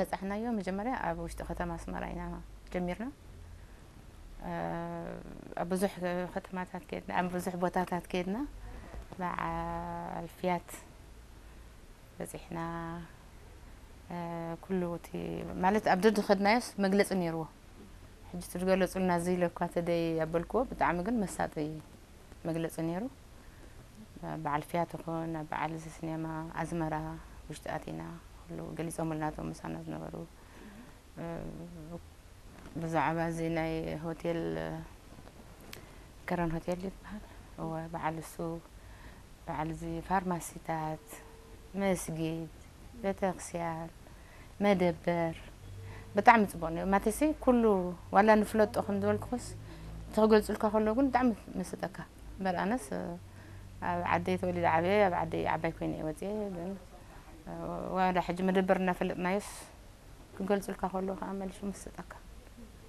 ዝበጻሕናዮ መጀመርያ ኣብ ውሽጢ ከተማ ኣስመራ ኢና ጀሚርና። ኣብ ብዙሕ ከተማታት ከድና፣ ኣብ ብዙሕ ቦታታት ከድና፣ በዓል ፍያት በጺሕና። ኩሉ እቲ ማለት ኣብ ደድኸድናዮስ መግለጺ ነይርዎ። ሕጂ ትገለጹልና እዚ ኢለ እኳ ተደይ ኣበልክዎ፣ ብጣዕሚ ግን መሳጢ መግለጺ ነይሩ። በዓል ፍያት ይኹን ኣብ በዓል እዚ ሲኔማ ኣዝመራ ውሽጢ ኣቲና ኩሉ ገሊጾምልና እቶም ምሳና ዝነበሩ። ብዛዕባ እዚ ናይ ሆቴል፣ ከረን ሆቴል ይበሃል። እወ፣ በዓል እሱ፣ በዓል እዚ ፋርማሲታት፣ መስጊድ፣ ቤተክርስትያን፣ መደበር፣ ብጣዕሚ ጽቡቕ ነይሩ። ማለትሲ ኩሉ ዋላ ንፍለጦ ከም ዝበልኩኽስ እቲ ክገልጹልካ ከሎ ግን ብጣዕሚ መስጠካ። እምበር ኣነስ ኣብ ዓደይ ተወሊደ ዓብየ፣ ኣብ ዓደይ ዓባይ ኮይነ እየ ወፅየ። ግን ዋላ ሕጂ መደበር እናፈለጥናዮስ ክገልጹልካ ከሎ ከዓ መሊሱ መስጠካ።